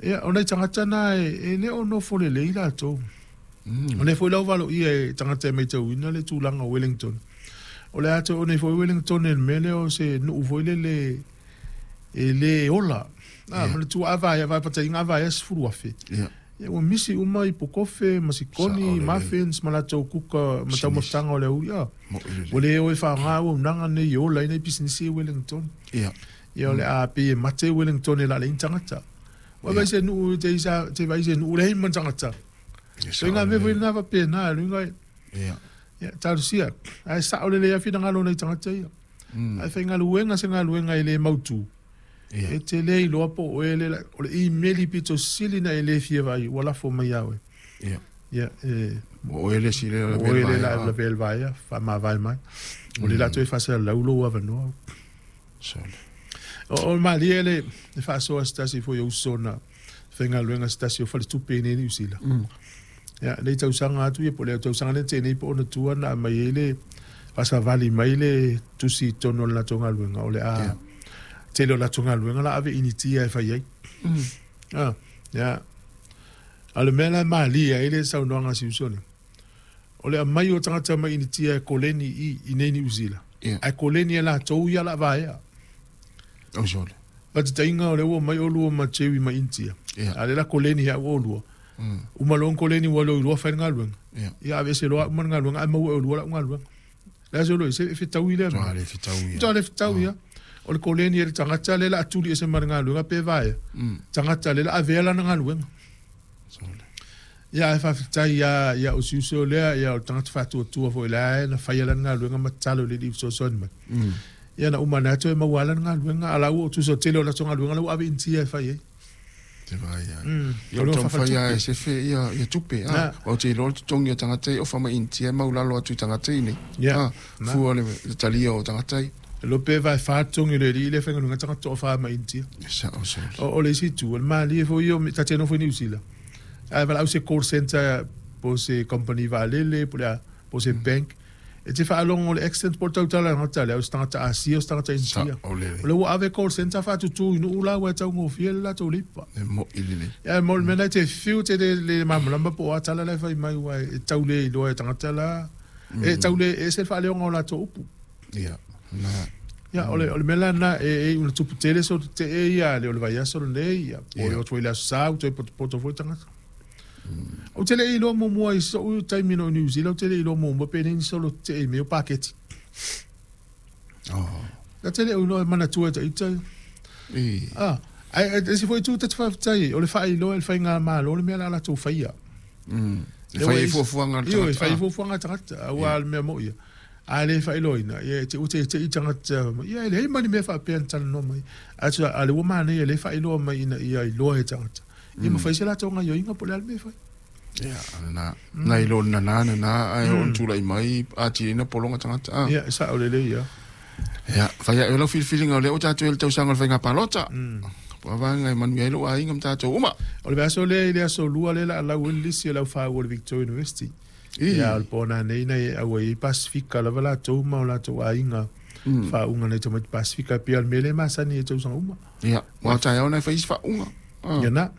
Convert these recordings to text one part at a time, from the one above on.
Ia, o nai tagata na e le o nofo lelei latou. O lea foi la ua valoia e tagata e matauina le tulaga o Wellington. O le a toe o nei foi Wellington i le mea lea o se nuu foi lele e le ola. A, manatua a vaea, vaepataiga a vaea 10,000. Ia, ua misi uma ipu kofe ma sikoni, muffins ma latou kuka ma taumafataga o le aoauli. A, ua le o e faaaoga auaunaga nei e ola ai nai pisinisi i Wellington. Ia, o le a pei e mate Wellington e lalei ni tagata. Ua vaai se nuu te isa te vaai se nuu leai ma ni tagata. Ituaiga mea foi lena faapena, le uiga ia talosia. Ae sao lelei lava finagalo o nai tagata ia. Ae faigaluega se galuega e le mautu. E te le iloa po o oe le o le imeli pito sili na e le fia vaai ua lafo mai ia oe. Ia, e O oe le isi lea o oe le la lavea le vaea, faamavae mai. O le la toe faasalalau lou avanoa. Sole. O malie le faasoa se tasi foi o uso na faigaluega se tasi o faletupe i nei Niu Sila. Ia, nei tausaga atu ia po o le tausaga lea na tea nei po o ona tua na aumai ai le faasavali mai le tusi i totonu o le latou galuega o le a tele o latou galuega la ave Initia e fai ai. Ah, ia. A o le mea la e malie ai le saunoaga a si uso lea, o le aumai o tagata mai Initia e koleni i nei Niu Sila, ae koleni e latou ia la vaea. O sole. Faataitaiga o lea ua omai oulua ma Jerry mai Initia, a o lea la koleni ai oulua. Uma loa ona koleni ua iloa fai le galuega. Ia aveese loa au ma le galuega ae maua e oulua lau galuega. Le a se olo e fetaui lea mea. Matua le fetaui. Matua le fetaui ia. O le koleni e le tagata lea la a tuli ese ma le galuega pe vaea. Tagata lea la avea lana galuega. Ia ae faafetai ia ia o si uso lea ia o le tagata faatuatua foi la na faia lana galuega ma tatalo i le Alii e fesoasoani mai. Ia na uma ane lava toe maua lana galuega a o la ua tusa o le tele o latou galuega la ua ave i Initia e fai ai. Te vaai ai. Ia o le taumafai lava e sefe ia tupe. Ou te iloa le totogi o tagata ia ofa mai Initia e maulalo atu i tagata i nei. Fua le talia o tagata ia. E iloa pe vae fa totogi o le alii lea e faigaluega tagata toafa mai Initia. E sao sole. O le isi itu, o le malie foi ia, ta te nofo i Niu Sila, a e valaau se call centre po o se company vaalele po o le a, po o se bank, E te faalogo le accent po o le tautala tagata lea, o se tagata Asia, o se tagata Initia. O lea ua ave call centre faatutu i nuu la ua e taugofie le latou leipa. E moi lelei. Ia mo le mea lena e te fiu te le malamalama po o a tala la e fai mai aua e tau le iloa e tagata la. E tau le e ese le faaleoga o latou upu. Ia, na. Ia, o le mea la lena e iu ina tupu tele solo tetee ia le o le vaiaso lenei, ia, po o le atu foi i le Aso Sa ua toe potopoto foi tagata. Ou te le i iloa muamua i so'u taimi na ou i Niu Sila, ou te le i iloa muamua pe leai ni solo tetee i mea o paketi. Na te le o iloa e manatua e ita ia. Ah, ae e isi foi itu ta te faafetai ai, o le faailoa e le faigamalo le mea la latou faia. E fai ai fuafuaga a le tagata. Ioe, e fai ai fuafuaga a le tagata, aua o le mea moi ia, a le faailoaina, ia e te ua teitei tagata, ia e leai ma ni mea faapea na talanoa mai. Ae a o lea ua manaia o lea e faailoa mai ina ia iloa e tagata. Ia ma fai se latou gaioiga po o le a le mea e fai. Ia, na, na i lo nana nana ae oo ina tulai mai atili na pologa tagata. Ah. Ia, e sao lelei ia. Ia, fai ae o lau filifiliga o lea ua tatou i ai i le tausaga o le faiga palota. Po o a vaega e manuia ai lou aiga ma tatou uma. O le vaiaso lea i le aso Lua lea o le a lau ai le lisi o le au faauu o le Victoria University. Ia, o le po nanei na e auai ai Pasifika lava latou ma o latou aiga faauuga nai tamaiti Pasifika e pei o le mea lea e masani ai i tausaga uma. Ia, aua o taeao na e fai isi faauuga. Ia na.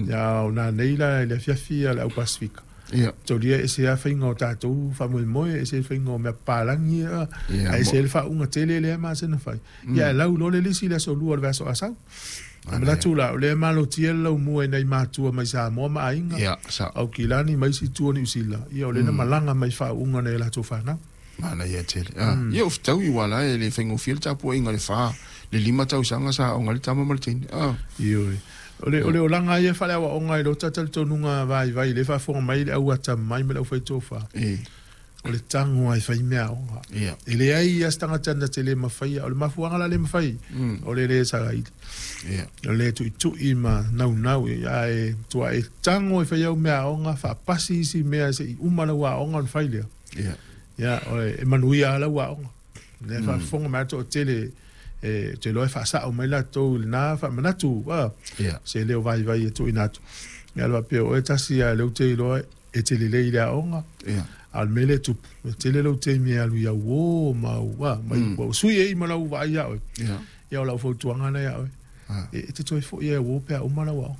Ia, o nanei la i le afiafi a le au Pasifika. Ia. Tolia e ese lava faiga o tatou faamoemoe, ese le faiga o mea papalagi ia, ae ese le faauuga tele lea e masani ona fai. Ia, ae lau loa le lisi i le aso Lua o le vaiaso a sau. E manatu la, o lea e malotia le laumua i nai matua mai Samoa ma aiga, Ia, sao. Aukilani ma isi itu o Niu Sila, ia o lea na malaga mai i faauuga nai a latou fanau. Manaia tele. Ah, ia o fetaui ua la e le faigofie le tapuaiga i le fa, le lima tausaga sa aoga ai le tama ma le teine. Ah. Ioe. O le, o le olaga ia faaleaoaoga i lota talitonuga vaivai, lea e faafofoga mai le au atamai ma le aufai tofa. E. O le tago lava e fai meaaoga. Ia. E leai lava se tagata na te le mafaia. O le mafuaaga la le mafai, o le le saili. Ia. O le tuitui ma naunau, ae matua e tago e fai au meaaoga, faapasi isi mea se i uma lau aoga ona fai lea. Ia. Ia, e manuia lava lau aoga. O lea e faafofoga mai lava le toatele, ou te iloa e faasao mai latou i lena faamanatu, Ia. se leo vaivai e tuuina atu. Ia, e faapea o oe tasi lava o lea ou te iloa e te lelei i le aoga, Ia. a o le mea lea e tupu, e tele lou taimi e alu i au uō ma au, ma ua sui ai ma lau vaai ia oe. Ia. Ia, o lau fautuaga lena ia oe, e te toe foi lava i au uō pe a uma lau aoga.